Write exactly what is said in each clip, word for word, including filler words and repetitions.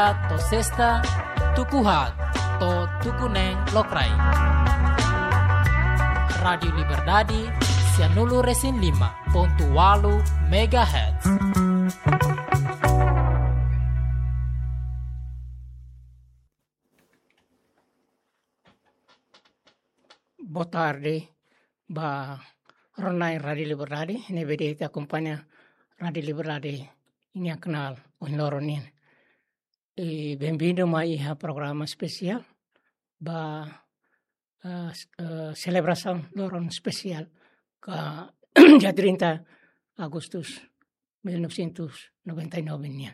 To'o sesta, tuku haat to'o tuku neen lokraik. Rádiu Liberdade, sianulu-resin-lima pontu ualu megahertz. Boa tarde ba rona-na'in Rádiu Liberdade, ne'ebé de'it akompaña Rádiu Liberdade nian kanál ohin loron nian. I benvindu mai iha programa espesiál ba, eh, s-, eh, selebrasaun loron espesiál ka dia trinta Agustus mil novecentos noventa e nove nian.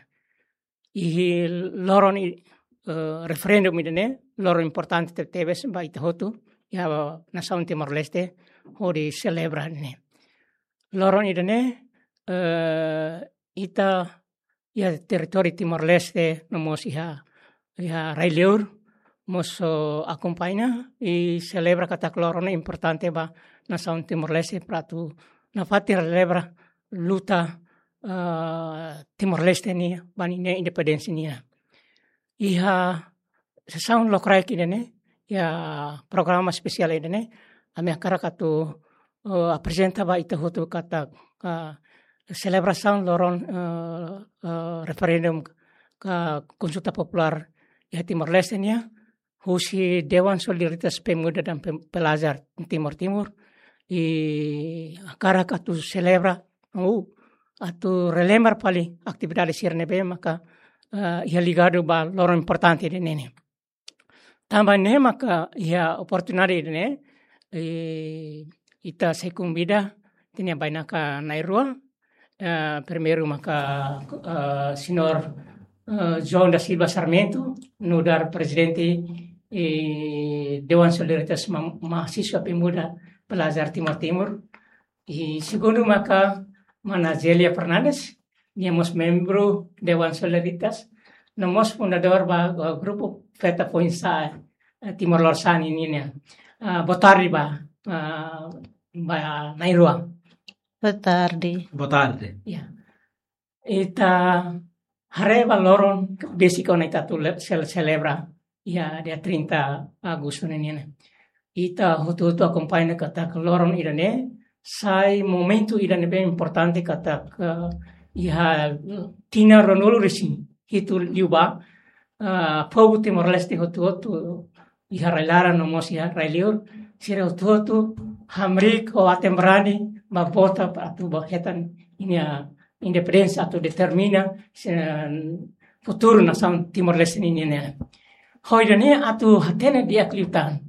I loron i, eh, referendum ida-ne'e, loron importante tebetebes ba ita hotu, iha nasaun Timor-Leste, hodi selebra ne'e. Loron ida-ne'e, eh, ita iha territóriu Timor-Leste, no mós iha, iha rai-liur, mós, oh, akompaña i selebra katak loron ne'e importante ba nasaun Timor-Leste para atu nafatin relembra luta, ah, Timor-Leste nian, ba ninia independénsia nian. Iha sesaun lokraik ida-ne'e, iha programa espesiál ida-ne'e, ami hakarak atu, eh, aprezenta ba ita hotu katak, eh, selebrasaun loron, eh, eh, referendum ka konsulta populár iha Timor-Leste nian, husi Dewan Solidaritas Pemuda dan Pem-, Pelajar Timor Timur, i hakarak atu selebra, ou atu relembra fali atividade sira ne'ebé maka, eh, iha ligadu ba loron importante ida-ne'e. Tanba ne'e maka iha oportunidade ne'e, eh, ita sei konvida ita-nia bainaka na'in-rua, eh, primeiru maka, eh, señór, eh, João da Silva Sarmento, nu'udar prezidente, eh, Dewan Solidaritas Ma-, Mahasiswa Pemuda Pelajar Timor Timur. I segundu maka mana Zélia Fernandes, nia mós membru Dewan Solidaritas, no mós fundadór ba, ba grupu Feta Foinsa'e, eh, Timor Lorosa'e nian. Ah, boa tarde ba, ah, ba na'in-rua. Boa tarde. Boa tarde. Ya. Ita haree ba loron besik ona ita atu le-, sel-, selebra iha dia trinta Agustu ne'e nian. Ita hotu-hotu akompaña katak loron ida-ne'e sai momentu ida ne'ebé importante katak, eh, iha tinan ruanulu-resin-hitu liubá, eh, povu Timor-Leste hotu-hotu iha rai-laran no mós iha rai-liur, sira hotu-hotu hamriik ho aten-barani ba vota atu ba hetan ninia independénsia atu determina, eh, futuru nasaun Timor-Leste nian. Ho ida-ne'e atu hatene di'ak liután,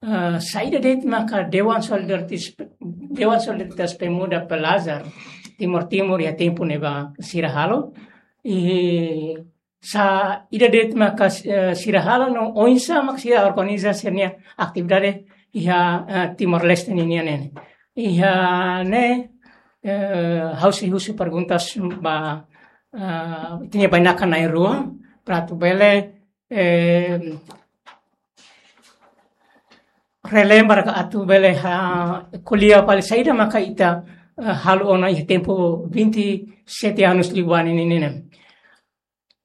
eh, saida de'it maka Dewan Solidaritas, Dewan Solidaritas Pemuda Pelajar Timor Timur iha tempu ne'ebá sira halo, i saida de'it maka, eh, sira halo no oinsá maka sira organiza sira-nia atividade iha, eh, Timor-Leste nian ne'e. Iha ne'e, eh, ha'u sei husu perguntas ba, eh, ita-nia bainaka na'in-rua, para atu bele, eh, relembra ka atu bele, ah, ko'alia fali saida maka ita, eh, halo ona iha tempu vinte e sete anos liubá ne'e nian.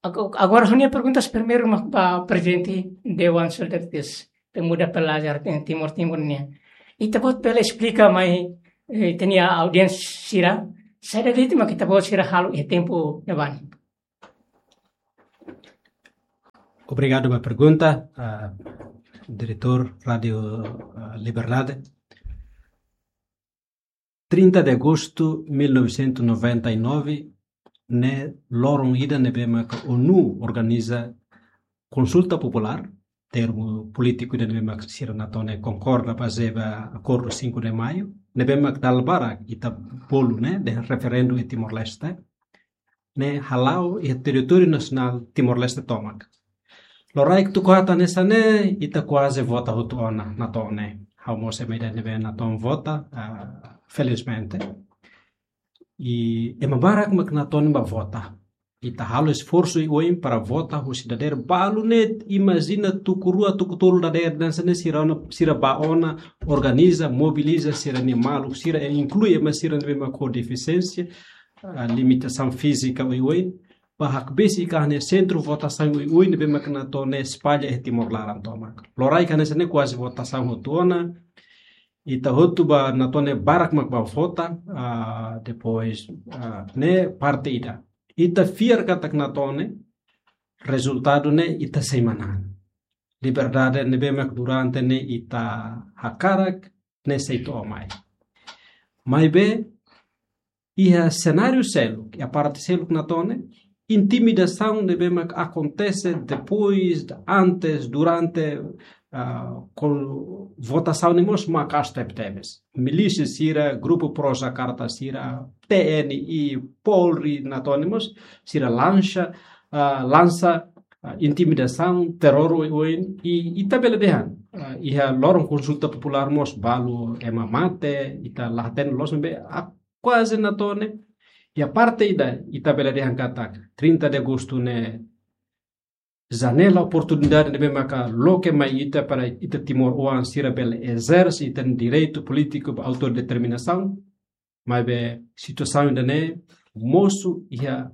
Ago-, agora ha'u-nia perguntas primeiru mak ba prezidente Dewan Solidaritas Pemuda Pelajar Timor Timur nian. Ita-boot bele esplika mai, eh, ita-nia audiénsia sira, saida de'it mak ita-boot sira halo iha tempu ne'ebá ne'e. Obrigadu ba pergunta, ah, diretór Rádiu, ah, Liberdade. Trinta de agosto de mil novecentos e noventa e nove, ne'e loron ida ne'ebé maka ONU organiza konsulta populár, termu polítiku ida ne'ebé maka sira natoon ne'e konkorda bazeia ba Acordo cinco de Maio, ne'ebé maka dala barak ita bolu ne'e, de referendu iha Timor-Leste, ne'e hala'o iha territóriu nasionál Timor-Leste tomak. Loraik tuku haat hanesan ne'e, ita kuaze vota hotu ona natoon ne'e. Ha'u mós ema ida ne'ebé natoon vota, ah, felizmente. I ema barak mak natoon ba vota. Ita halo esforsu oioin para vota husi dadeer balu ne'e, imajina tuku rua, tuku tolu dadeer hanesan ne'e sira ona, sira bá ona, organiza, mobiliza sira-nia maluk, sira inklui ema sira ne'ebé mak ho defisiénsia, ah, limitasaun fízika oioin. ba hakbesik ka ne'e sentru votasaun oioin ne'ebé mak natoon ne'e espalla iha Timor laran tomak. Loraik hanesan ne'e kuaze votasaun hotu ona, ita hotu ba natoon ne'e barak mak ba vota, ah, depois, ah, ne'e parte ida. Ita fiar katak natoon ne'e, rezultadu ne'e ita sei manán. Liberdade ne'ebé mak durante ne'e ita hakarak, ne'e sei to'o mai. Maibé, iha senáriu seluk, iha parte seluk natoon ne'e, intimidasaun ne'ebé mak akontese depois, antes, durante, ah, ho votasaun ne'e mós maka'as tebetebes. Milísia sira, grupu pro Jakarta sira, T N I, Polri natoon ne'e mós, sira lansa, ah, lansa, ah, intimidasaun, terror oioin, i ita bele dehan, ah, iha loron konsulta populár mós balu ema mate, ita la hatene loos maibé, ah, kuaze natoon ne'e. Iha parte ida, ita bele dehan katak trinta de agostu ne'e janela oportunidade ne'ebé maka loke mai ita para ita timoroan sira bele ezerse ita-nia direitu polítiku ba autodeterminasaun. Maibé situasaun ida-ne'e mosu iha,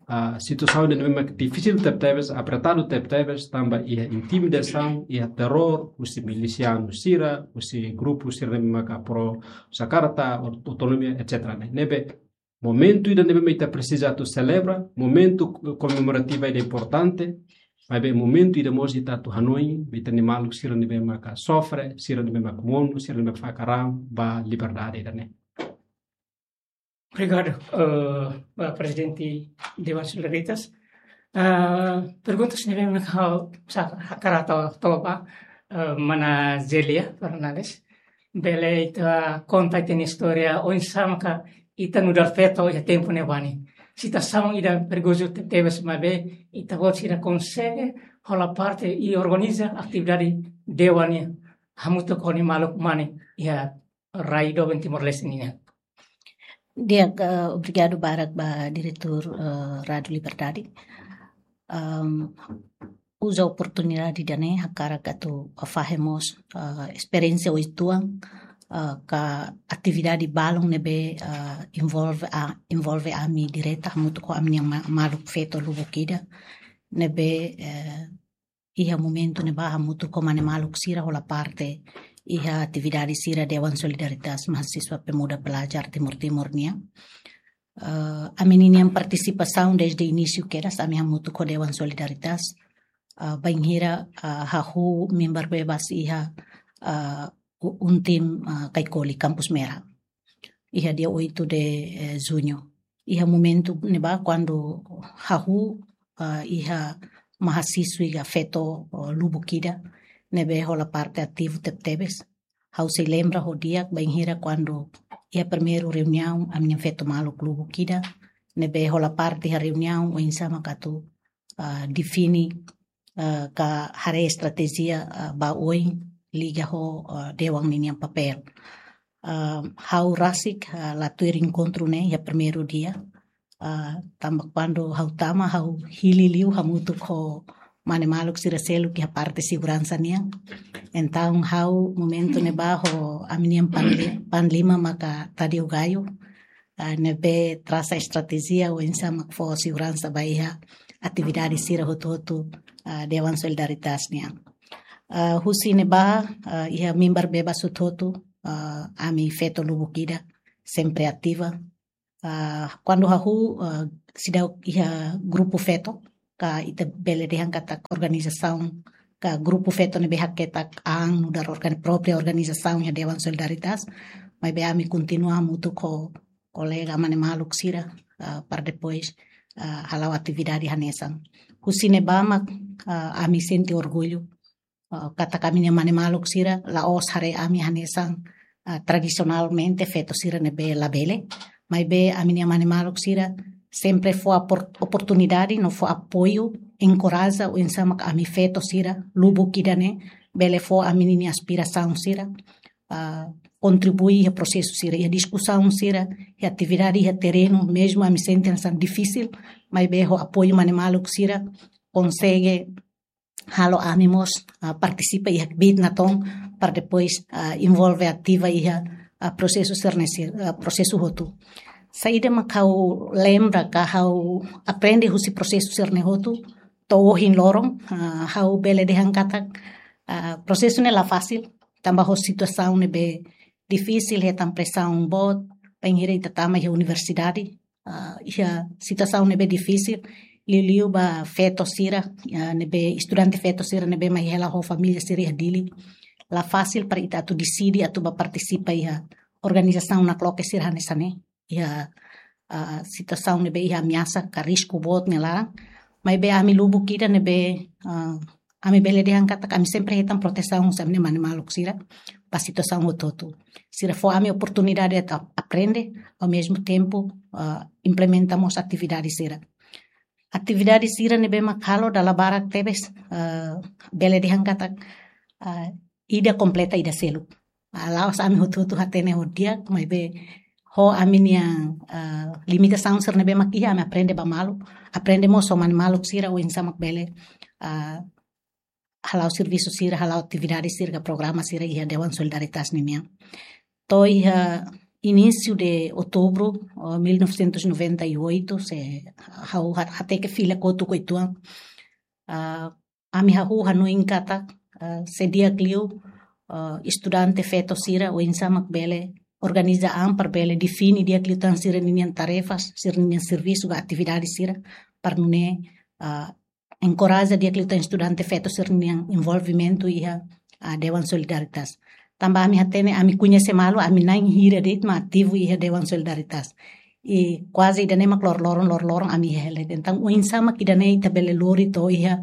ah, situasaun ida-ne'e mak difisil tebetebes, apertadu tebetebes, tanba iha intimidasaun, iha terror, husi milisianu sira, husi grupu sira ne'ebé maka pro Jakarta, aut-, autonomia, et cetera ne'e. Ne'ebé momentu ida ne'ebé mak ita presiza atu selebra, momentu komemorativa ida importante, maibé momentu ida mós ita atu hanoin ba ita-nia maluk sira ne'ebé maka sofre, sira ne'ebé maka monu, sira ne'ebé maka fakar an ba liberdade ida-ne'e. Obrigadu, eh, ba Prezidente Dewan Solidaritas. Ah, perguntas ne'ebé mak ha'u sa-, hakarak tau, tau ba, eh, mana Zelia Fernandes. Bele ita konta ita-nia istória, oinsá maka ita nu'udar feto iha tempu ne'ebá ne'e. Situasaun ida perigozu tebes maibé, ita-boot sira konsege hola parte i organiza atividade dewan nian hamutuk ho nia maluk mane iha rai doben Timor-Leste nian. Di'ak, eh, obrigadu barak ba diretór, eh, Rádiu Liberdade. Ahm, uza oportunidade ida-ne'e hakarak atu fahe mós, eh, esperiénsia oituan, eh, ka atividade balun ne'ebé, eh, envolve a, envolve ami direta hamutuk ho ami-nia ma-, maluk feto lubuk ida ne'ebé, eh, iha momentu ne'ebá hamutuk ho mane maluk sira hola parte iha atividade sira Dewan Solidaritas Mahasiswa Pemuda Pelajar Timor Timur nian. Eh, ami-nian partisipasaun desde inísiu kedas, ami hamutuk ho Dewan Solidaritas, eh, bainhira, eh, hahú member bebas iha, eh, u-, UNTIM, eh, Caicoli, Campus Merah. Iha dia oito de, eh, junho. Iha momentu ne'ebá kuandu hahú, eh, iha mahasiswi ka feto, eh, lubuk ida ne'ebé hola parte ativu tebetebes. Ha'u sei lembra ho di'ak bainhira kuandu iha primeiru reuniaun ami-nia feto maluk lubuk ida ne'ebé hola parte iha reuniaun oinsá maka atu, ah, define, ah, ka haree estratéjia, ah, ba oin liga ho, ah, dewan ninian papél. Ah, ha'u rasik, ah, la tuir enkontru ne'e iha primeiru dia. Ah, tanba kuandu ha'u tama ha'u hili liu hamutuk ho mane maluk sira seluk iha parte seguransa nian. Entaun ha'u momentu ne'ebá ho ami-nian panli-, panlima maka Tadeu Gayo, ah, ne'ebé trasa estratéjia oinsá mak fó seguransa ba iha atividade sira hotu-hotu, ah, Dewan Solidaritas nian. Ah, husi ne'ebá, ah, iha member bebas hotu-hotu, ah, ami feto lubuk ida sempre ativa. Ah, kuandu hahú, ah, seidauk iha grupu feto, ka ita bele dehan katak organizasaun, ka grupu feto ne'ebé haketak an nu'udar organ-, própria organizasaun iha Dewan Solidaritas, maibé ami kontinua hamutuk ho kolega mane maluk sira, ah, para depois, ah, hala'o atividade hanesan. Husi ne'ebá mak, ah, ami sente orgullu, ah, katak ami-nia mane maluk sira la'ós haree ami hanesan, ah, tradisionalmente feto sira ne'ebé labele. Maibé ami-nia mane maluk sira sempre fó opor-, oportunidade no fó apoiu, enkoraja oinsá mak ami feto sira lubuk ida-ne'e bele fó ami-ninia aspirasaun sira, ah, kontribui iha prosesu sira, iha diskusaun sira, iha atividade iha terrenu, mezmu ami sente hanesan difisil, maibé ho apoiu mane maluk sira konsege halo ami mós, ah, partisipa iha kbiit natoon para depois, ah, envolve ativa iha, ah, prosesu sira-ne'e sira, ah, prosesu hotu. Saida mak ha'u lembra ka ha'u aprende husi prosesu sira-ne'e hotu, to'o ohin loron, ah, ha'u bele dehan katak, ah, prosesu ne'e la fasil, tanba ho situasaun ne'ebé difisil, hetan presaun boot, bainhira ita tama iha universidade, ah, iha situasaun ne'ebé difisil, liuliu ba feto sira, ah, ne'ebé estudante feto sira ne'ebé mai hela ho família sira iha Dili. La fasil para ita atu deside atu ba partisipa iha organizasaun nakloke sira hanesan ne'e. Iha, ah, situasaun ne'ebé iha ameasa ka risku boot nia laran. Maibé ami lubuk ida ne'ebé, ah, ami bele dehan katak ami sempre hetan protesaun husi ami-nia mane-maluk sira ba situasaun hotu-hotu. Sira fó ami oportunidade atu aprende, ao mesmo tempo, ah, implementa mós atividade sira. Atividade sira ne'ebé mak halo dala barak tebes, ah, bele dehan katak, ah, ida kompleta ida seluk. Ah, la'ós ami hotu-hotu hatene ho di'ak, maibé ho ami-nia, ah, limitasaun sira ne'ebé mak iha, ami aprende ba malu, aprende mós ho mane-maluk sira oinsá mak bele, ah, hala'o servisu sira, hala'o atividade sira ka programa sira iha Dewan Solidaritas ninian. To'o iha início de outubro, oh, mil novecentos e noventa e oito, se ha'u ha-, hateke fila kotuk uitoan, ah, ami hahú hanoin katak, ah, se di'ak liu, ah, estudante feto sira oinsá mak bele organiza an para bele define di'ak liután sira-ninian tarefas, sira-ninian servisu ka atividade sira, para nune'e, ah, enkoraja di'ak liután estudante feto sira-ninian envolvimentu iha, ah, Dewan Solidaritas. Tanba ami hatene, ami koñese malu, ami na'in hira de'it mak ativu iha Dewan Solidaritas. I kuaze ida-ne'e mak loroloron, loroloron ami hela. Entaun, oinsá mak ida-ne'e ita bele lori to'o iha,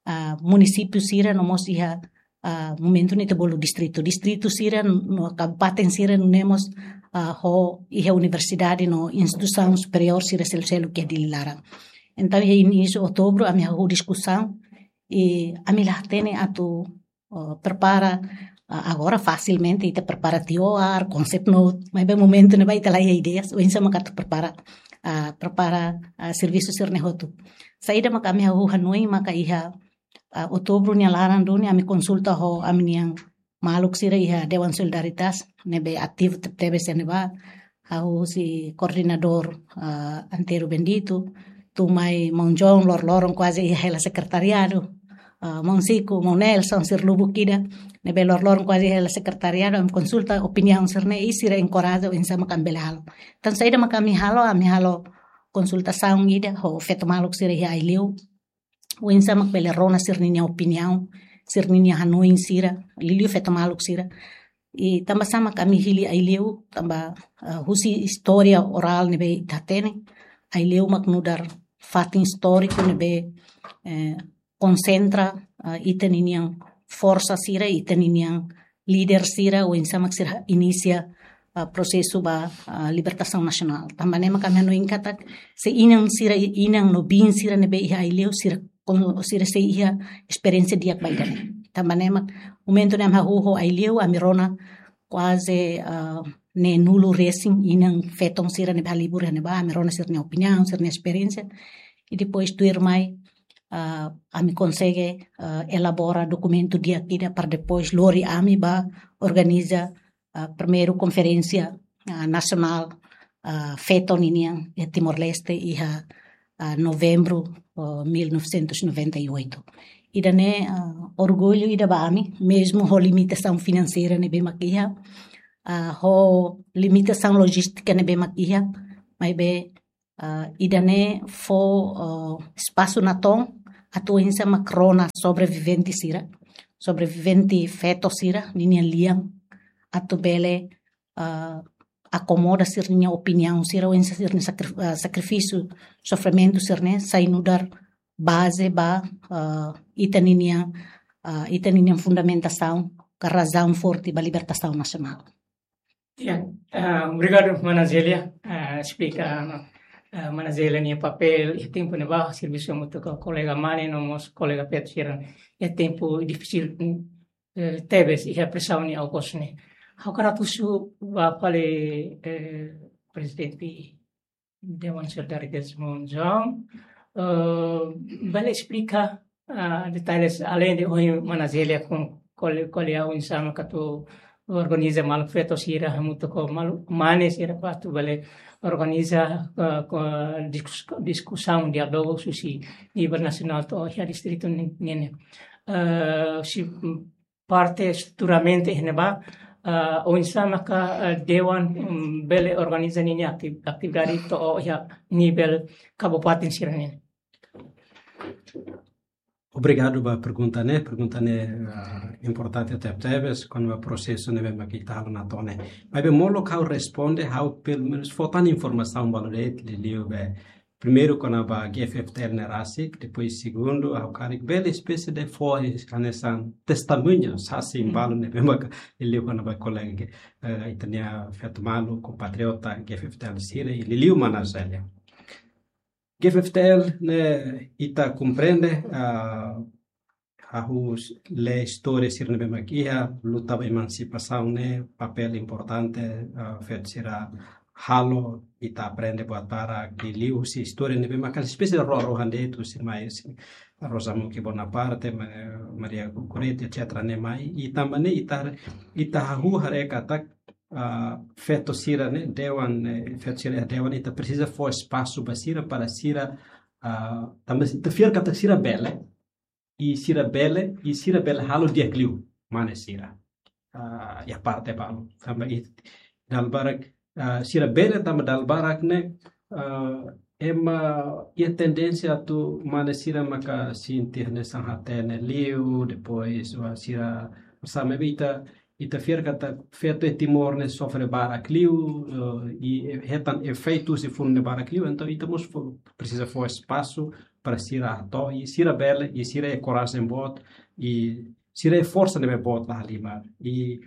ah, munisípiu sira no mós iha, ah, momentu ne'e ita bolu distritu. Distritu sira no kabupaten sira nune'e mós, ah, ho iha universidade no instituisaun superiór sira selu-seluk iha Dili laran. Entaun, iha inísiu outubru, ami hahú diskusaun, i ami la hatene atu, oh, prepara, ah, agora fasilmente ita prepara T O R, concept note, maibé momentu ne'ebá ita la iha ideias, oinsá mak atu prepara, ah, prepara, ah, servisu sira-ne'e hotu. Saida mak ami hahú hanoin maka iha, ah, outubru nia laran duni ami konsulta ho ami-nian maluk sira iha Dewan Solidaritas, ne'ebé ativu te-, tebes iha ne'ebá, ha'u husi koordenadór, ah, Antero Bendito, tun mai maun John loroloron kuaze iha hela sekretariadu, ah, maun Siku, maun Nelson, sira lubuk ida, ne'ebé loroloron kuaze iha hela sekretariadu, ami konsulta opiniaun sira-ne'e, i sira enkoraja oinsá mak ami bele halo. Entaun saida mak ami halo, ami halo konsultasaun ida ho feto maluk sira iha Aileu, oinsá mak bele rona sira-ninia opiniaun, sira-ninia hanoin sira, liuliu feto maluk sira. I tanba sá mak ami hili Aileu, tanba, ah, husi istória orál ne'ebé ita hatene, Aileu mak nu'udar fatin istóriku ne'ebé, eh, konsentra, ah, ita-ninian forsa sira, ita-ninian líder sira, oinsá mak sira inisia, ah, prosesu ba, ah, libertasaun nasionál. Tanba ne'e mak ami hanoin katak, se inan sira, inan no biin sira ne'ebé iha Aileu, sira kon-, sira sei iha esperiénsia di'ak ba ida-ne'e. Tanba ne'e mak momentu ne'e ami hahú ho Aileu, ami rona kuaze, ah, neenulu resin inan feton sira ne'ebé halibur iha ne'ebá, ami rona sira-nia opiniaun, sira-nia esperiénsia. I depois tuirmai, ah, ami konsege, ah, elabora dokumentu di'ak ida para depois lori ami ba organiza, ah, primeiru konferénsia, ah, nasionál, ah, feto ninian iha Timor-Leste iha, ah, novembru, oh, mil novecentos e noventa e oito. Ida-ne'e, ah, orgullu ida ba ami, mezmu ho limitasaun finanseira ne'ebé mak iha, ah, ho limitasaun lojístika ne'ebé mak iha, maibé, ah, ida-ne'e fó, ah, espasu natoon atu oinsá mak rona sobrevivente sira, sobrevivente feto sira, ninian lian, atu bele, ah, akomoda sira-nia opiniaun sira, oinsá sira-nia sakri-, ah, sakrifísiu, sofrimentu sira-ne'e, sai nu'udar baze ba, ah, ita-ninian, ah, ita-ninian fundamentasaun, ka razaun forte ba libertasaun nasionál. Ya, ah, obrigadu, mana Zélia. Ah, esplika, ah, mana Zélia nia papél iha tempu ne'ebá, servisu hamutuk ho kolega mane no mós kolega feto sira iha tempu difisil, eh, tebes iha presaun ne'e, okos ne'e. Ha'u hakarak husu ba fali, eh, Prezidente Dewan Solidaritas, maun John, eh, bele esplika, ah, detalles além de ohin mana Zélia kon-, kole-, ko'alia oinsá mak atu organiza malu feto sira hamutuk ho malu mane sira para atu bele organiza, eh, ko diskus-, diskusaun diálogu husi nivel nasionál to'o iha distritu ni-, nian ne'e. Eh, husi parte estruturamentu iha ne'ebá, eh, oinsá maka, eh, dewan, mm, bele organiza ninia akti-, atividade to'o iha nivel kabupaten sira-nian. Obrigadu ba pergunta ne'e, pergunta ne'e, ah, importante tebetebes, kona-ba prosesu ne'ebé mak ita halo Natone. Maibé molok ha'u responde, ha'u pelumenus fó tan informasaun balu de'it, liuliu be. Primeiru kona-ba G F F T L ne'e rasik, depois segundu, ha'u karik bele espésie de fó hanesan testemuña, sasin balu ne'ebé maka, liuliu kona-ba kolega, eh, ita-nia feto malu, kompatriota, G F F T L sira, liuliu mana Zélia. G F F T L ne'e ita komprende, ah, hahú lee istória sira ne'ebé mak iha, luta ba emansipasaun ne'e, papél importante, ah, feto sira halo, ita aprende buat barak liuliu husi istória ne'ebé mak espésie rua-rua de'it, husi mai husi Rosa Muki Bonaparte, Ma-, Maria Goretti, et cetera ne'e mai, i tanba ne'e ita, ita hahú haree katak, ah, feto sira ne'e, dewan, eh, feto sira dewan, ita presiza fó espasu ba sira para sira, ah, tanba ita fiar katak sira bele, i sira bele, i sira bele halo di'ak liu, mane sira. Ah, iha parte balu, tanba i dala barak, ah, sira bele tanba dala barak ne'e, ah, ema iha tendénsia atu mane sira maka sente hanesan hatene liu, depois, ah, sira sama ita, ita fiar katak feto iha Timor ne'e sofre barak liu, eh, i hetan efeitu husi funu ne'e barak liu, entaun ita mós fó, presiza fó espasu para sira hato'o, i sira bele, i sira iha korajen boot, i sira iha forsa ne'ebé boot la halimar. I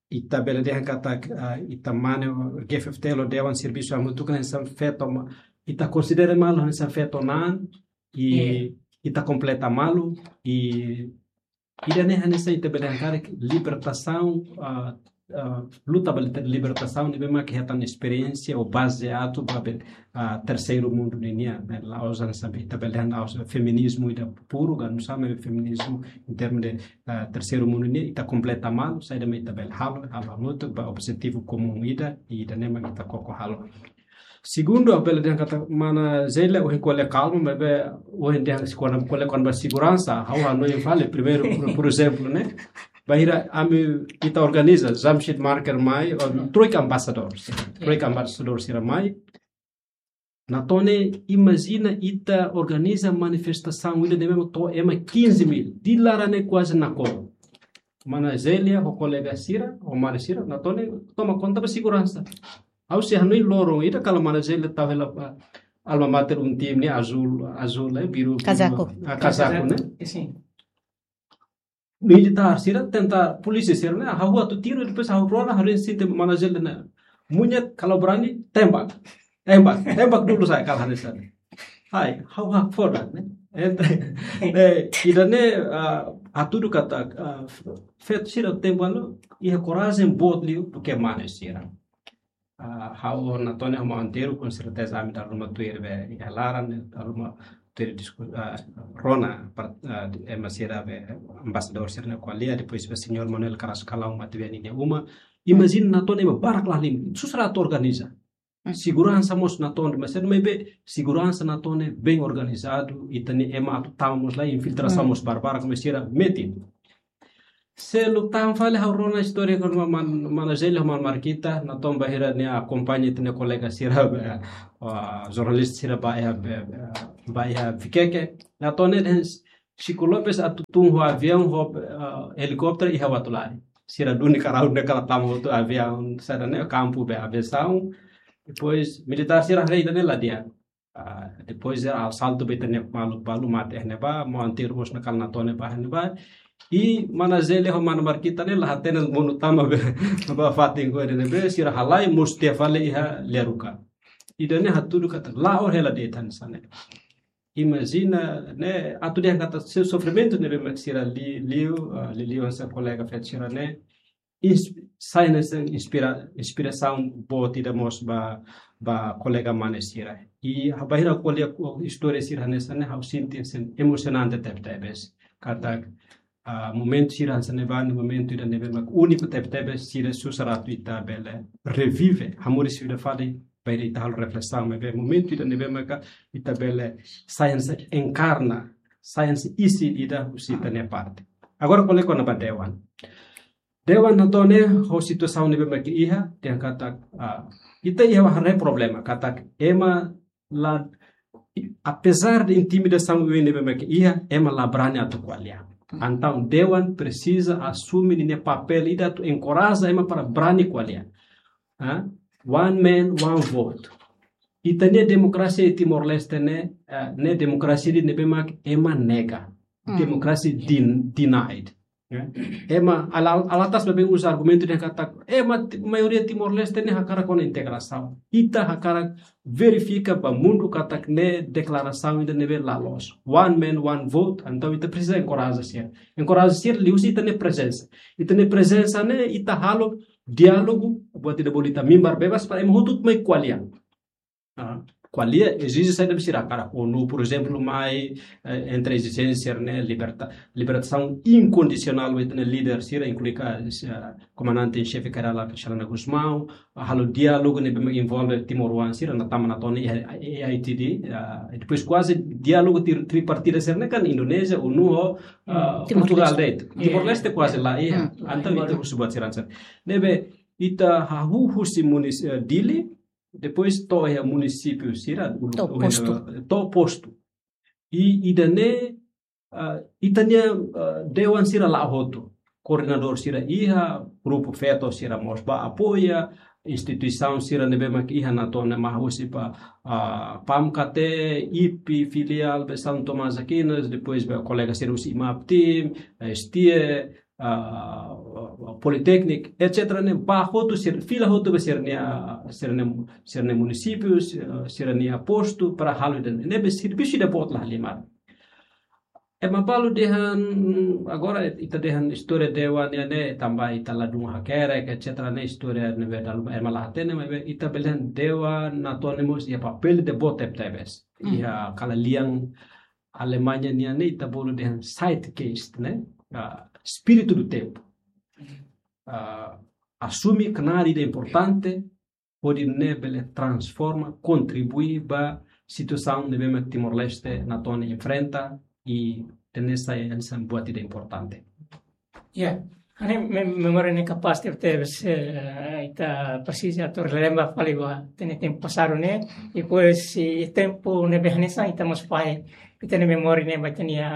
ita bele dehan katak, ah, ita mane G F F T L ho dewan servisu hamutuk hanesan feto ma-, ita konsidera malu hanesan feto na'an, i ita kompleta malu, i ida-ne'e hanesan ita bele dehan karik libertasaun, ah, ah, luta ba liber-, libertasaun ne'ebé mak hetan esperiénsia ou baze atu ba be, ah, terseiru mundu ninian, ne'e. La'ós hanesan be ita bele dehan la'ós feminizmu ida puru, ka nusá mak feminizmu em termos de, ah, terseiru mundu ninian, ita kompleta malu, saida mak ita bele halo, halo hamutuk ba objetivu komún ida, i ida-ne'e mak ita koko halo. Segundu, ha'u bele dehan katak mana Zélia, ohin ko'alia kalma, maibé ohin dehan se kona ko'alia kona-ba seguransa, ha'u hanoin fali, primeiru, por, por ezemplu, ne'e? Bainhira ami, ita organiza, Jamshid Marker mai, o, troika ambasadór, troika ambasadór sira mai. Natone, imajina ita organiza manifestasaun ida ne'ebé to'o ema quinze mil, di laran ne'e kuaze nakonu. Mana Zélia, ho kolega sira, ho mane sira, Natone, toma konta ba seguransa. Ha'u sei hanoin loron ida kala mana Zélia tau hela, ah, alma mater UNTIM ne'e azúl, azúl, eh, biru, biru, kazaku. Ah, kazaku, ne'e? Sin. Militár sira tenta, polísia sira ne'e, hahú atu tiru, depois hahú rona, hahú sente mana Zélia ne'e. Muña, kalau berani, tembak. Tembak, tembak dulu saja kalau ada sana. Hai, ha'u hakfodak, ne'e? Ent-, ne'e, ida-ne'e, ah, hatudu katak, ah, feto sira tempu lalu, iha korajen boot liu duké mane sira. Ah, ha'u Natone ho maun Antero, com certeza, ami dala ruma tuir be iha laran, dala ruma tuir disku-, ah, rona, par-, ah, ema sira be ambasadór sira-nia ko'alia, depois be señór Manuel Carrascalão, matebian ninia uma. Imajina Natone ema barak la halimar, susar atu organiza. Seguransa mós Natone, mas sendo maibé seguransa Natone bem organizadu, i teni ema atu tama mós la, infiltrasaun mós barbarak, mas sira metin. Seluk tan fali ha'u rona istória kona-ba man-, mana Zélia ho mana Markita, Natone bainhira nia akompaña ita-nia kolega sira be, ah, jornalista sira ba iha be, be, ba iha Vikeke. Natone dehan Chico Lopes atu tun ho aviaun, ho, ah, helikópteru iha Uatolari. Sira duni karau ne'e kala tama hotu aviaun, saida ne'e kampu be aviasaun. Depois militár sira haree ida-ne'e la di'ak. Ah, depois asaltu ba ita-nia maluk balu mate iha ne'ebá, maun Antero mós nakal Natone ba iha ne'ebá. I mana Zélia ho mana Markita ne'e la hatene monu tama be, ba fatin ko ida ne'ebé, sira halai mós tiha fali iha Lia Ruka. Ida-ne'e hatudu katak la'o hela de'it hanesan ne'e. Imajina, ne'e, atu dehan katak se sofrimentu ne'ebé mak sira li-, liu, ah, liuliu hanesan kolega feto sira ne'e, ins-, sai hanesan inspira-, inspirasaun boot ida mós ba, ba kolega mane sira. I bainhira ko'alia istória sira hanesan ne'e, ha'u sente hanesan emosionante tebetebes. Katak ah, momentu sira hanesan ne'e ba, momentu ida ne'ebé mak úniku tebetebes, sira susar atu ita bele revive, hamoris ida fali, para ita halo reflesaun, maibé momentu ida ne'ebé maka ita bele sai hanesan enkarna, sai hanesan isin ida husi ita-nia parte. Agora, kolega, kona-ba dewan. Dewan natoon ne'e, ho situasaun ne'ebé mak iha, dehan katak, ah, ita iha haree problema, katak ema la, apezar de intimidasaun ne'ebé mak iha, ema la brani atu ko'alia. Entaun, dewan presiza asume ninia papél ida atu enkoraja ema para brani ko'alia. Ah, one man, one vote. Ita-nia demokrasia iha Timor-Leste ne'e, eh, ne'e demokrasia ida ne'ebé mak ema nega. Hmm. Demokrasia den-, denied. Ya. Ema, ala-, alatas bebé uza argumentu dehan katak, ema ti-, maioria Timor-Leste ne'e hakarak kona integrasaun. Ita hakarak verifika ba mundu katak ne'e deklarasaun ida ne'ebé la loos. One man, one vote, entaun ita presiza enkoraja sira. Enkoraja sira liuhusi ita-nia prezensa. Ita-nia prezensa ne'e, ita halo diálogu, buat ida bolu ita mimbar bebas, para ema hotu mai ko'alia. Ah, ko'alia, ezije saida be sira hakarak. ONU, por ezemplu, mai, eh, entre ezijénsia ne'e, liberta-, libertasaun inkondisionál ba ita-nia líder sira, inklui ka, eh, komandante em xefe Kay Rala Xanana Gusmão, halo diálogu ne'ebé envolve timoroan sira, na tama natoon ne'e, A I T D, ah, e depois kuaze diálogu tri-, tripartida sira ne'e kan Indonézia, ONU, ho, ah, Hmm, Portugal Timor-Leste. De'it. Iya. Timor-Leste kuaze la iha. Hmm. Entaun, ita husu buat sira hanesan. Ne'ebé, ita hahú husi munis-, eh, Dili, depois to'o iha munisípiu sira, ulu-, To'o eh, postu. To'o postu. I ida-ne'e, ah, ita-nia, ah, dewan sira la'o hotu. Koordenadór sira iha, grupu feto sira mós ba apoia, instituisaun sira ne'ebé mak iha natoon ne'e mai husi ba, ah, PAMKT, IPI, filiál be São Tomás Aquinas, depois be kolega sira husi IMAPTIM, eh, STIE, ah, Politeknik, et cetera ne'e, ba hotu sira, fila hotu ba sira-nia, sira-nia, sira-nia munisípiu, sira, sira-nia postu para halo ida-ne'e. Ne'ebé servisu ida boot la halimar. Ema balu dehan, agora ita dehan istória dewan nian ne'e, tanba ita ladún hakerek, et cetera ne'e, istória ne'ebé dala ruma ema la hatene, maibé ita bele dehan dewan natoon ne'e mós iha papél ida boot tebetebes. Hmm. Iha kala lian Alemanha nian ne'e ita bolu dehan Zeitgeist, ne'e? Ah, espírito do tempo. Ah, asume knaar ida importante, hodi nune'e bele transforma, kontribui ba situasaun ne'ebé mak Timor-Leste natoon ne'e enfrenta, i ida-ne'e sai hanesan buat ida importante. Ya, ne'e me-, memória ne'e kapás tebetebes, eh, ita presiza atu relembra fali ba ita-nia tempu pasadu ne'e, i depois, i tempu ne'ebé hanesan ita mós fahe, ita-nia memória ne'e ba ita-nia,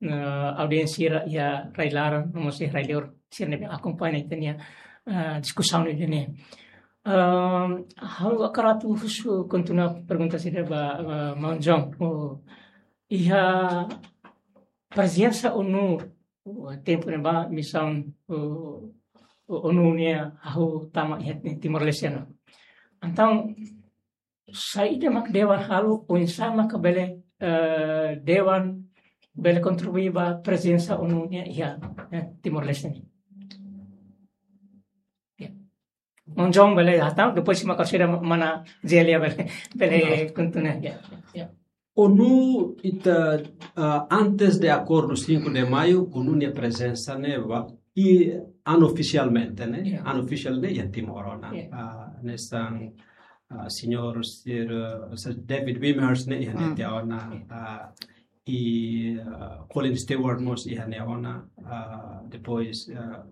eh, audiénsia sira iha rai-laran, no mós iha rai-liur, sira ne'ebé akompaña ita-nia, eh, diskusaun ida-ne'e. Ehm, ha'u hakarak atu husu kontinua pergunta sira ba, ba Maun John. Oh, iha prezensa ONU, oh, tempu ne'ebá misaun, oh, oh, ONU nian hahú tama iha Timor-Leste ne'e. Entaun, saida mak dewan halo, oinsá mak bele, eh, dewan bele kontribui ba prezensa ONU nian iha, eh, Timor-Leste ne'e. Ya. Maun John bele hatán, depois se mak sira mana Zélia bele, bele kontinua. Ya, ya. ONU ita, ah, antes de akordu cinco de Maio, ONU nia prezensa ne'e ba, i unofisialmente, ne'e? Ya. Unofisial ne'e iha Timor ona. Ya. Ah, hanesan, ah, señór Sir, ah, Sir David Wimers ne'e iha ne'e Hmm. tiha ona, Ya. ah, i, ah, Colin Stewart mós iha ne'e ona, ah, depois, ah,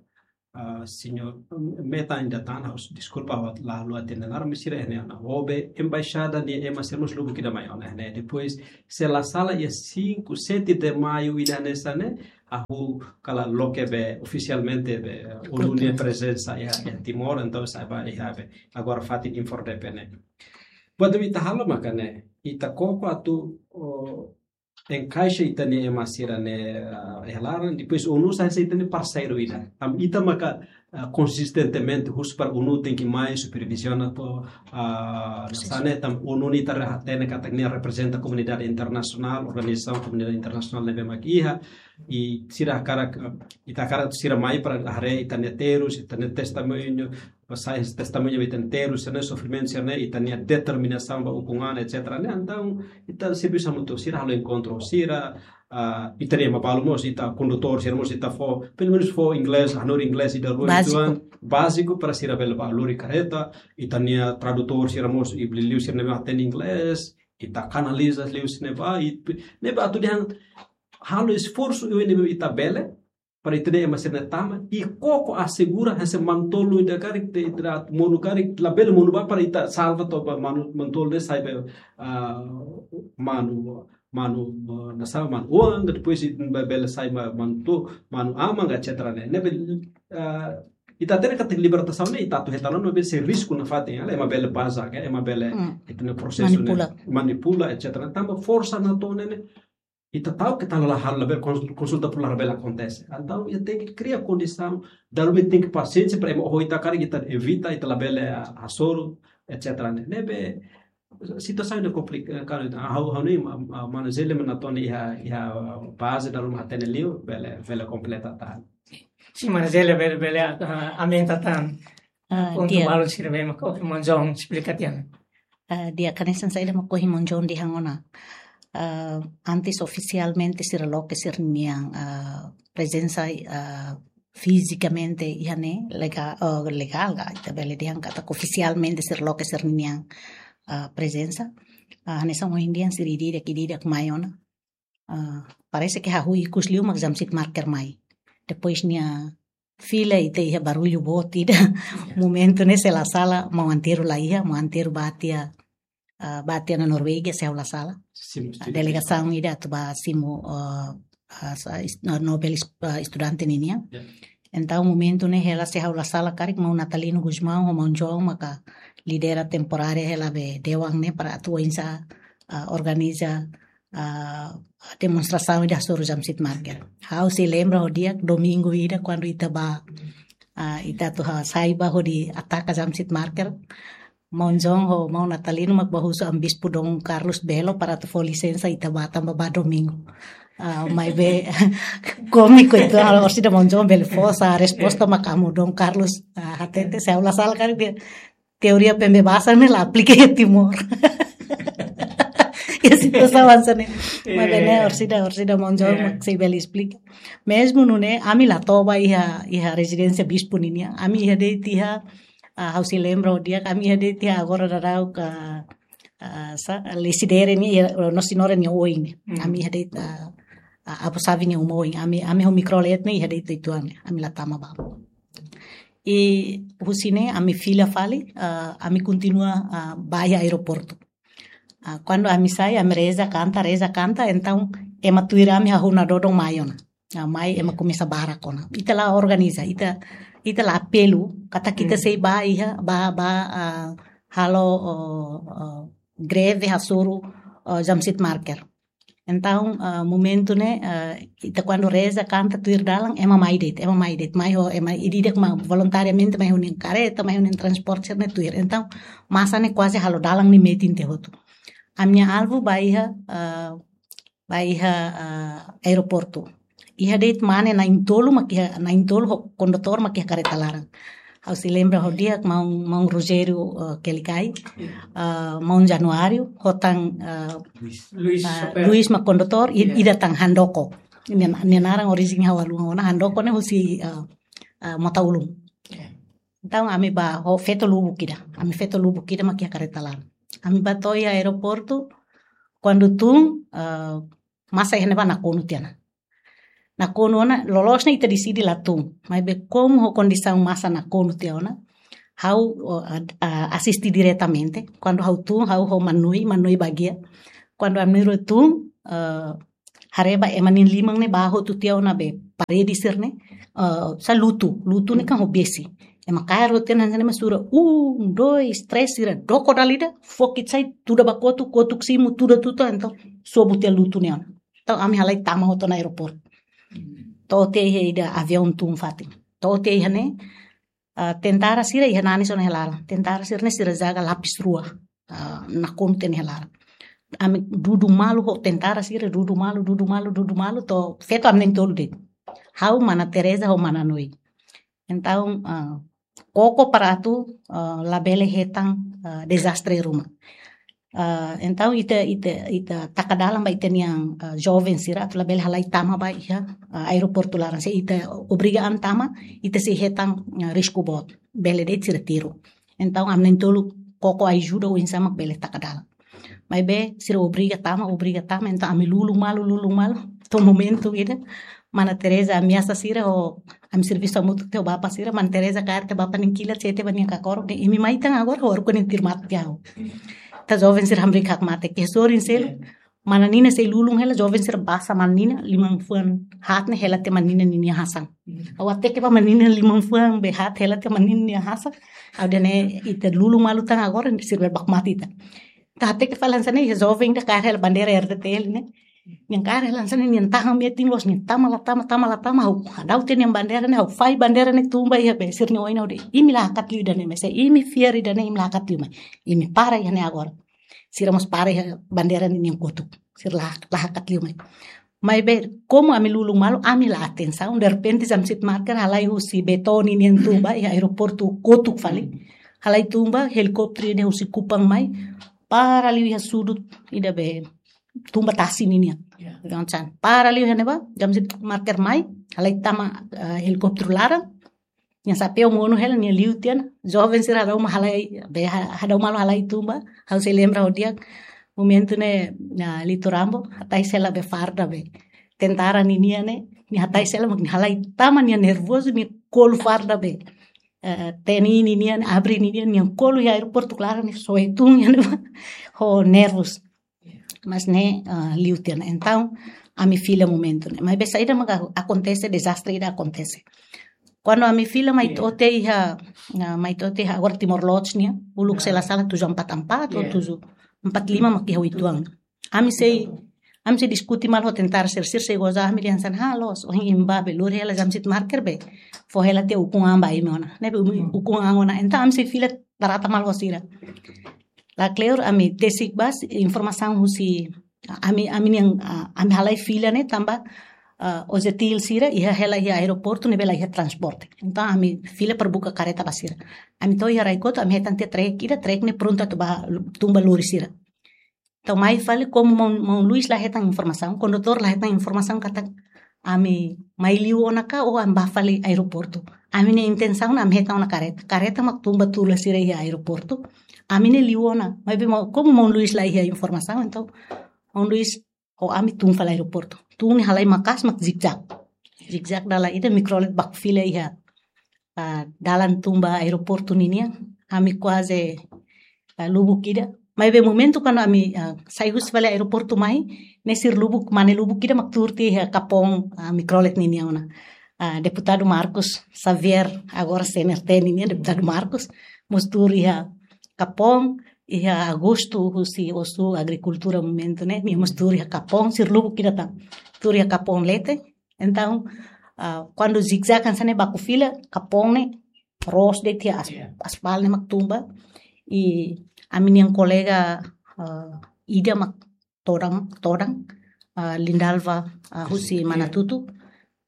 ah, señór, mm, Meta ainda tá, ha'u deskulpa, ha'u la, la hatene naran, mas sira iha ne'e ona. Ho be embaixada nia ema sira mós lubuk ida mai ona iha ne'e. Depois, se la sala iha cinco, sete de Maio ida hanesan ne'e, ha'u kala loke be ofisialmente be ONU nia prezensa iha, iha Timor, entaun sai ba iha be. Agora fatin INFORDEPE ne'e. Buat ida ita halo maka ne'e, ita koko atu, oh, enkaixa ita-nia ema sira ne'e, ah, iha laran, depois ONU sai hanesan ita-nia parseiru ida. Tanba ita maka, ah, konsistentemente husu para ONU tenke mai superviziona to, ah, Prosesu. Hanesan ne'e tanba ONU ne'e ita hatene katak nia reprezenta komunidade internasionál, organizasaun komunidade internasionál ne'ebé mak iha, i sira hakarak, ah, ita hakarak sira mai para haree ita-nia terus, ita-nia testemuñu, ba sai testemuña ba ita-nia terus, sira-ne'e sofrimentu, sira-ne'e ita-nia determinasaun ba ukun an, et cetera ne'e. Entaun ita servisu hamutuk, sira halo enkontru, sira, ah, ita-nia ema balu mós, ita kondutór sira mós, ita fó, pelumenus fó inglés, hanorin inglés ida rua, báziku, ituan báziku para sira bele bá lori karreta, ita-nia tradutór sira mós, i liuliu sira ne'ebé hatene inglés, ita kanaliza liuhusi ne'ebá, i ne'ebé atu dehan halo esforsu oioin ne'ebé ita bele, para ita-nia ema sira-ne'e tama, i koko asegura hanesan manu-tolu ida karik, ita, ita monu karik, labele monu bá para ita salva to'o ba manu, manu-tolu ne'e sai ba, ah, manu, manu, ah, nasaun, manu-oan, depois ita bá bele sai ba manu-to-, manu-aman, et cetera ne'e. Ne'ebé, ah, ita hatene katak libertasaun ne'e, ita atu hetan ona, ne'ebé sei risku nafatin, halo ema bele baza, ke ema bele, hmm, ita-nia prosesu ne'e manipula, manipula, et cetera. Tanba forsa natoon ne'e, ita ta'uk ke ita la halo, labele kons-, konsulta popular labele akontese. Entaun ita tenke kria kondisaun, dala ruma tenke pasiénsia para ema oho ita karik, ita evita, ita labele, ah, hasoru, et cetera ne'e. Ne'ebé situasaun ne'e komplikadu, ah, ha'u, ha'u hanoin, ah, ah, mana Zélia mak natoon iha, iha baze dala ruma hatene liu, bele, bele kompleta tan. Sin, mana Zélia bele, bele, ah, aumenta tan. Ah, pontu di'ak. Balu sira be mak ohin maun João esplika tiha ona. Ah, di'ak, hanesan saida mak ohin maun João dehan ona. Ah, antes ofisialmente sira loke sira-nian, ah, prezensa, ah, fizikamente iha ne'e lega-, ah, legál ka, ita bele dehan katak ofisialmente sira loke sira-nian, ah, prezensa. Ah, hanesan ohin dehan sira ida-idak, ida-idak mai ona. Ah, parese ke hahú ikus liu mak Jamsitmarker mai. Depois nia fila ita iha barullu boot ida. Ya. Momentu ne'e se la sala maun Antero la iha, maun Antero bá tiha, ah, bá tiha ona Noruega, se ha'u la sala. Simu, ah, simu, delegasaun ida atu bá simu, ah, ah, sa-, is-, ah, Nobel is-, ah, estudante ninian. Ya. Entaun momentu ne'e hela se ha'u la sala karik maun Natalino Gusmão ho maun João maka lidera temporária hela be dewan ne'e para atu oinsá, ah, organiza, ah, demonstrasaun ida hasoru Jamsitmarker. Ha'u sei lembra ho di'ak domingu ida kuandu ita bá, ah, ita atu ha-, sai bá hodi ataka Jamsitmarker. Maun João ho maun Natalino mak bá husu Amu Bispu Dom Carlos Belo para atu fó lisensa ita bá tanba bá domingu. Ah, maibé kómiku ituan, orsida maun João bele fó sa resposta, ya, mak Amu Dom Carlos, ah, hatete se ha'u la sala karik dehan teoria pembebasan ne'e la aplika iha Timor. Iha situasaun hanesan ne'e. Maibé ne'e, eh, orsida, orsida maun João, eh, mak sei bele esplika. Mezmu nune'e, ami la toba iha, iha rezidénsia bispu ninian. Ami iha de'it iha, ah, ha'u sei lembra ho di'ak, ami iha de'it iha agora daudaun ka, ah, sa, Lecidere nian, iha, Nossa Senhora nia oin. Hmm. Ami iha de'it, ah, ah, Abu Savi nia uma oin. Ami, ami ho mikrolet ne'e iha de'it ituan, ami la tama ba. I husi ne'e ami fila fali, ah, ami kontinua, ah, bá iha aeroportu. Ah, kuandu ami sai, ami reza, kanta, reza, kanta, entaun ema tuir ami hahú nadodon mai ona. Ah, mai ema komesa barak ona. Ita la organiza, ita, ita la apelu, katak ita, hmm, sei bá iha, bá, bá, ah, halo, oh, oh, greve hasoru, oh, Jamsitmarker. Entaun, ah, momentu ne'e, ah, ita kuandu reza, kanta, tuir dalan, ema mai de'it, ema mai de'it, mai ho, ema ida-idak mak voluntariamente mai ho ninia karreta, mai ho ninia transporte, sira-ne'e tuir. Entaun, masa ne'e kuaze halo dalan nia metin tiha hotu. Ami-nia alvu bá iha, ah, bá iha, ah, aeroportu. Iha de'it mane na'in-tolu mak iha, na'in-tolu ho kondutór mak iha karreta laran. Ha'u sei lembra ho di'ak maun, maun Rogério, eh, Kelikai, eh, maun Januário, ho tan, eh, Luis. Luis, eh, Sopel. Luis mak kondutór, i-, ya, ida tan Handoko. Nia, nia naran orijen ha'u haluha ona, Handoko ne'e husi, eh, eh, Mota Ulun. Ya. Entaun ami bá ho feto lubuk ida. Ami feto lubuk ida mak iha karreta laran. Ami bá to'o iha aeroportu, kuandu tun, eh, masa iha ne'ebá nakonu tiha ona. Nakonu ona, loloos ne'e ita deside la tun. Maibé komu ho kondisaun masa nakonu tiha ona, ha'u, o, a, a, asiste diretamente. Kuandu ha'u tun, ha'u ho Manui, Manui bagia. Kuandu ami rua tun, eh, haree ba ema nia liman ne'e bá hotu tiha ona be parede sira-ne'e, eh, sa lutu, lutu ne'e kan ho besi. Ema kaer hotu tiha ona hanesan ne'e mak sura, um, dois, três, sira doko dala ida, fokit sai, tuda ba kotuk, kotuk simu, tuda tutu, entaun sobu tiha lutu ne'e ona. Entaun ami halai tama hotu ona aeroportu. To'o tiha iha ida aviaun tun fatin. To'o tiha iha ne'e, ah, tentara sira iha nanis ona iha laran. Tentara sira-ne'e sira jaga lapis rua. Ah, nakonu tiha ona iha laran. Ami dudu malu ho tentara sira, dudu malu, dudu malu, dudu malu, to'o feto ami na'in-tolu de'it. Ha'u, mana Teresa ho mana Noi. Entaun, ah, koko para atu, ah, labele hetan, ah, dezastre ruma. Ah, entaun ita, ita, ita taka dalan ba ita-nian, ah, joven sira atu labele halai tama ba iha, ah, aeroportu laran. Se ita obriga an tama, ita sei hetan, ah, risku boot. Bele de'it sira tiru. Entaun ami na'in-tolu koko ajuda oinsá mak bele taka dalan. Maibé sira obriga tama, obriga tama, entaun ami lulun malu, lulun malu. To'o momentu ida, mana Teresa ameasa sira ho ami servisu hamutuk tiha ho bapa sira, mana Teresa kaer tiha bapa nia kilat, sete ba nia kakorok, dehan imi mai tan agora, ho arku nia tirmat tiha ho. Ita joven sira hamriik hakmatek, ke sorin selu, mana Nina sei lulun hela, joven sira basa mana Nina, liman-fuan haat ne'e hela tiha mana Nina ninia hasan. Ha'u hateke ba mana Nina liman-fuan be haat hela tiha mana Nina nia hasan. Ha'u dehan ne'e ita lulun malu tan agora, sira bele baku mate ita. Ita hateke fali hanesan ne'e, joven ida kaer hela bandeira R D T L ne'e. Nia kaer hela hanesan ne'e, nia tahan metin loos, nia tama la tama, tama la tama, ha'u hadau tiha nia bandeira ne'e, ha'u fahe bandeira ne'e tun ba iha be sira-nia oin ha'u dehan, imi la hakat liu ida-ne'e mai, se imi fiar ida-ne'e, imi la hakat liu mai. Imi para iha ne'e agora. Sira mós para iha bandeira ne'e nia kotuk. Sira la, la hakat liu mai. Maibé, komu ami lulun malu, ami la atensaun, derrepente Jamsitmarker halai husi Betoni nian tun ba iha aeroportu kotuk fali. Halai tun ba, helikópteru ne'e husi Kupang mai, para liu iha sudut ida be tun ba tasi ninian. Ya. Entaun, para liu iha ne'ebá, Jamsitmarker mai, halai tama, eh, helikópteru laran, nia xapeu monu hela, nia liu tiha ona, joven sira hadau malu halai, be ha-, hadau malu halai tun ba, ha'u sei lembra ho di'ak, momentu ne'e, ah, Lito Rambo, hatais hela be farda be tentara ninian ne'e, nia hatais hela mak nia halai tama nia nervozu, nia kolu farda be, eh, T N I ninian, ABRI ninian, nia kolu iha aeroportu laran ne'e soe tun iha ne'ebá, ho nervozu. Mas ne'e, ah, liu tiha ona. Entaun, ami fila momentu ne'e. Maibé saida maka akontese, dezastre ida akontese. Kuandu ami fila mai to'o tiha iha, ah, mai to'o tiha iha agora Timor Lodge nian, uluk se la sala tujuh empat empat ou tujuh empat lima mak iha uitoan. Ami sei, ami sei diskute malu ho tentara sira, sira sei goza ami dehan hanesan, ha, loos, ohin imi bá be lori hela Jamsitmarker be fó hela tiha ukun-an ba imi ona. Ne'ebé umi ukun-an ona. Entaun ami sei fila tarata malu ho sira. La kleur ami tesik bá informasaun husi ami, ami-nian, ah, ami halai fila ne'e tanba, ah, OJT sira iha hela iha aeroportu ne'ebé la iha transporte. Entaun ami fila para buka kareta ba sira. Ami to'o iha rai kotuk, ami hetan tiha trek ida, trek ne'e prontu atu bá tun ba lori sira. Entaun mai fali komu maun, maun Luis la hetan informasaun, kondutór la hetan informasaun katak ami mai liu ona ka ou ami bá fali aeroportu. Ami-nia intensaun ami hetan ona kareta. Kareta mak tun ba tula sira iha aeroportu. Ami ne'e liu ona. Maibé maun, komu maun Luis la iha informasaun, entaun maun Luis ho ami tun fali aeroportu. Tun ne'e halai maka'as mak zigzag. Zigzag dalan ida, mikrolet baku fila iha, ah, dalan tun ba aeroportu ninian. Ami kuaze, ah, lubuk ida. Maibé momentu kuandu ami, ah, sai husi fali aeroportu mai, ne'e sira lubuk, mane lubuk ida mak tuur tiha iha Kapong, ah, mikrolet ninian ona. Ah, Deputadu Marcos Xavier, agora C N R T ninian, Deputadu Marcos, mós tuur iha Kapong, iha Agosto husi Osu Agrikultura momentu ne'e, nia mós tuur iha Kapong, sira lubuk ida tan. Tuur iha Kapong leten. Entaun, ah, kuandu zigzag hanesan ne'e baku fila, Kapong ne'e roos de'it iha as-, aspal ne'e mak tun ba. I ami-nian kolega, ah, ida mak todan, todan, ah, Lindalva, ah, husi Manatutu,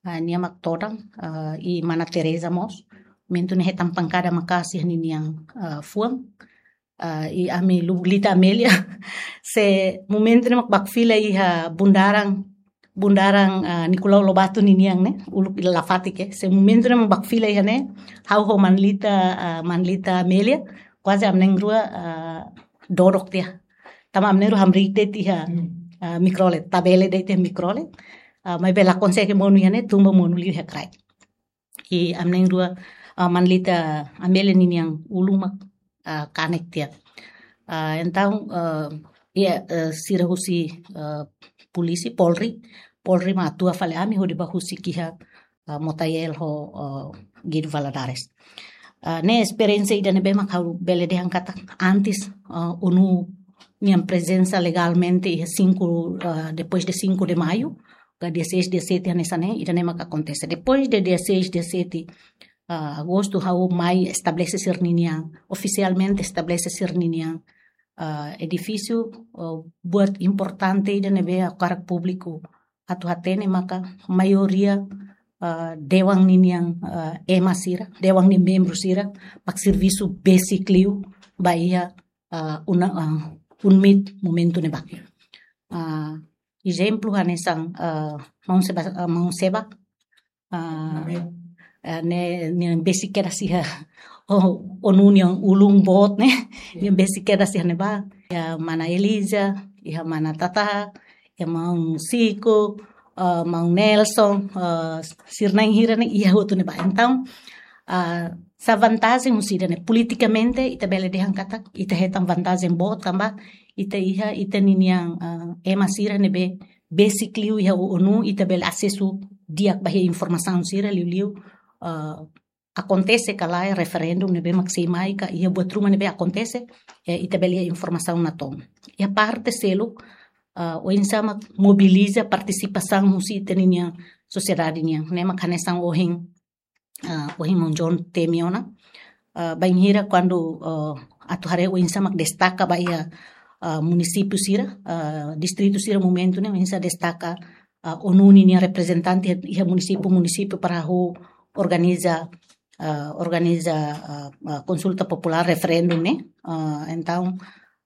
ah, nia mak todan, ah, i mana Teresa mós. Momentu ne'e hetan pankada maka'as iha ninian, ah, fuan. Ah, i ami lubuk Lita Amelia. Se momentu ne'e mak baku fila iha bundaran, bundaran, ah, Nicolau Lobato ninian ne'e, uluk ida la fatik. Se momentu ne'e mak baku fila iha ne'e, ha'u ho mana Lita, ah, mana Lita Amelia, kuaze ami na'in-rua, ah, dodok tiha. Tanba ami na'in-rua hamriik de'it iha, ah, mikrolet, tabele de'it iha mikrolet. Ah, maibé la konsege monu iha ne'e, tun ba monu liu iha kraik. I ami na'in-rua, ah, mana Lita Amelia ninian ulun mak, ah, kanek tiha. Ah, entaun, ah, iha, ah, sira husi, ah, polísia, Polri, Polri mak atua fali ami hodi bá husik iha, ah, Motael ho, ah, Guido Valadares. Ah, ne'e esperiénsia ida ne'ebé mak ha'u bele dehan katak antes, ah, ONU nian prezensa legalmente iha cinco, ah, depois de cinco de maio, ka dia seis, dia sete hanesan ne'e, ida-ne'e maka akontese. Depois de dia seis, dia sete, ah, agostu, ha'u mai estabelese sira-ninian, ofisialmente estabelese sira-ninian, ah, edifísiu, ah, buat importante ida ne'ebé ha'u hakarak públiku atu hatene maka maioria, ah, dewan ninian, ah, ema sira, dewan nia membru sira, mak servisu besik liu ba iha, ah, una, ah, UNMIT momentu ne'ebá. Ah, ezemplu hanesan, ah, maun Seba, ah, maun Seba, ah, ne'e, ne'e besik kedas iha, oh, ONU nian ulun boot ne'e, ne'e besik kedas iha ne'ebá. Iha mana Elisa, iha mana Tata, iha maun Siko, ah, maun Nelson, ah, sira na'in hira ne'e iha hotu ne'ebá. Entaun, ah, sá vantajen husi ida-ne'e? Politikamente, ita bele dehan katak, ita hetan vantajen boot tanba, ita iha, ita ninian, ah, ema sira ne'ebé besik liu iha ONU, ita bele asesu di'ak ba iha informasaun sira liuliu, ah, akontese ka lae referendum ne'ebé mak sei mai ka iha buat ruma ne'ebé akontese, eh, ita bele iha informasaun natoon. Iha parte seluk, ah, oinsá mak mobiliza partisipasaun husi ita ninian sosiedade nian. Ne'e mak hanesan ohin, ah, ohin maun John temi ona. Ah, bainhira kuandu, ah, atu haree oinsá mak destaka ba iha, ah, munisípiu sira, ah, distritu sira momentu ne'e, oinsá destaka, ah, ONU ninia reprezentante iha munisípiu, munisípiu para halo organiza, ah, organiza, ah, ah, konsulta populár, referendum ne'e. Ah, entaun,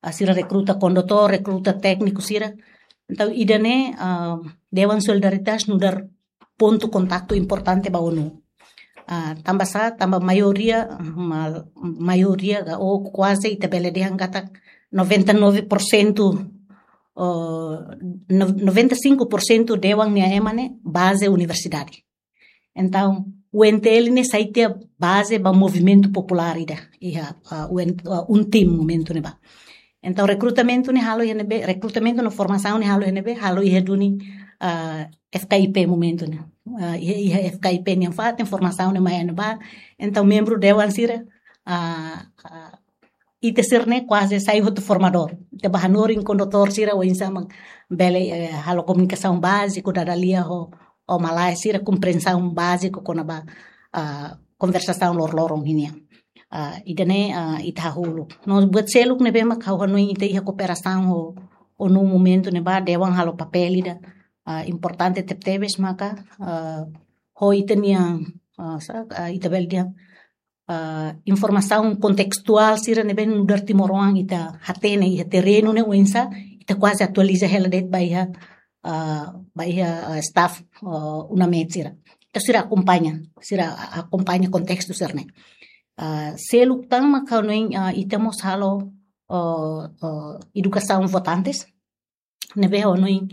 ah, sira rekruta kondutór, rekruta tékniku sira. Entaun, ida-ne'e, ah, Dewan Solidaritas nu'udar pontu kontaktu importante ba ONU. Ah, tanba sá, tanba maioria, ma-, maioria ka, ou kuaze ita bele dehan katak noventa e nove por cento, oh, no-, noventa e cinco por cento dewan nia ema ne'e baze universidade. Entaun, UNTL ne'e sai tiha baze ba movimentu populár ida, iha, ah, UN, ah, UNTIM momentu ne'ebá. Entaun, rekrutamentu ne'e halo iha ne'ebé, rekrutamentu no formasaun ne'e halo iha ne'ebé, halo iha duni, ah, F K I P momentu ne'e. Ah, iha, iha F K I P nian fatin, formasaun ne'e mai iha ne'ebá. Entaun, membru dewan sira, ah, ah, ita sira-ne'e kuaze sai hotu formadór. Ita bá hanorin kondutór sira oinsá mak bele, eh, halo komunikasaun báziku, dada lia ho, ho malae sira, komprensaun báziku kona-ba, ah, konversasaun loroloron ninian. Ah, ida-ne'e, ah, ita hahú uluk. No buat seluk ne'ebé mak ha'u hanoin ita iha kooperasaun ho ONU momentu ne'ebá, dewan halo papél ida, ah, importante tebetebes maka, ah, ho ita-nia, ah, sá, ah, ita bele dehan, ah, informasaun kontestuál sira ne'ebé nu'udar timoroan ita hatene iha terrenu ne'e oinsá, ita kuaze atualiza hela de'it ba iha, ah, ba iha, ah, staff, ah, UNAMET sira. Entaun sira akompaña, sira a-, akompaña kontestu sira-ne'e. Ah, seluk tan mak ha'u hanoin, ah, ita mós halo, ah, ah, edukasaun votantes, ne'ebé ha'u hanoin,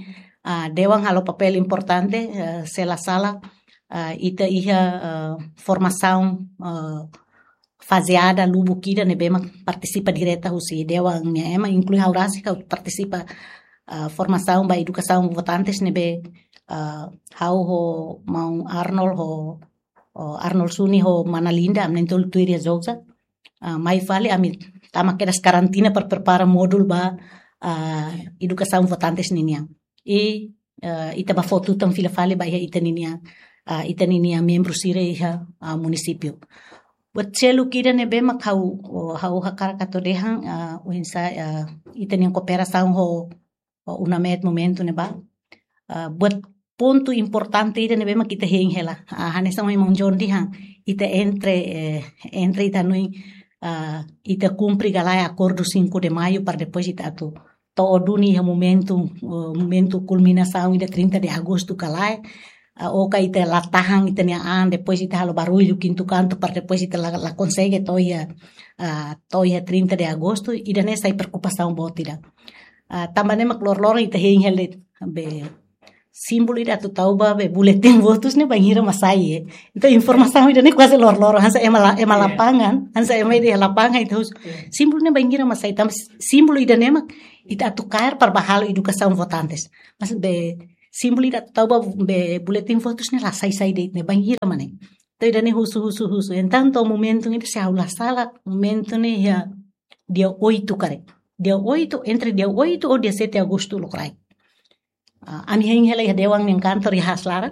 ah, dewan halo papél importante, ah, se la sala, ah, ita iha, ah, formasaun, ah, fazeada lubuk ida ne'ebé mak partisipa direta husi dewan nia ema, inklui ha'u rasik ha'u partisipa, ah, formasaun ba edukasaun votantes ne'ebé, ah, ha'u ho maun Arnold ho, ho Arnold Suni ho mana Linda, ami na'in-tolu tuir iha Jogja. Ah, mai fali ami tama kedas karantina para prepara módulu ba, ah, edukasaun votantes ninian. I, ah, ita bá fó tutan fila fali ba iha ita ninia, ah, ita ninia membru sira iha, ah, munisípiu. Buat seluk ida ne'ebé mak ha'u, oh, ha'u hakarak atu dehan, ah, oinsá, ah, ita-nia kooperasaun ho, ho UNAMET momentu ne'ebá. Ah, buat pontu importante ida ne'ebé mak ita hein hela. Ah, hanesan maun John dehan, ita entre, eh, entre ita hanoin, ah, ita kumpre ka lae akordu cinco de Maio para depois ita atu to'o duni iha momentu, eh, momentu kulminasaun ida trinta de Agostu ka lae. Ah, ou ka ita la tahan ita-nia an, depois ita halo barullu kintu kantu para depois ita la, la konsege to'o iha, ah, to'o iha trinta de Agostu, ida-ne'e sai preokupasaun boot ida. Ah, tanba ne'e mak loroloron ita hein hela de'it be símbolu ida atu tau ba be buletin votus ne'e bainhira mak sai, eh. Entaun informasaun ida-ne'e kuaze loroloron, hanesan ema la-, ema lapangan, hanesan ema ida iha lapangan ita husu. Símbolu ne'e bainhira mak sai, tanba símbolu ida-ne'e mak ita atu kaer para bá halo edukasaun votantes. Mas be símbolu ida atu tau ba be buletin votus ne'e la sai-sai de'it ne'e bainhira mak ne'e. Entaun ida-ne'e husu, husu, husu. Entaun to'o momentu ida se ha'u la sala, momentu ne'e iha dia oito karik. Dia oito, entre dia oito ou dia sete Agostu lokraik. Ah, ami hein hela iha dewan nia kantor iha haslarak,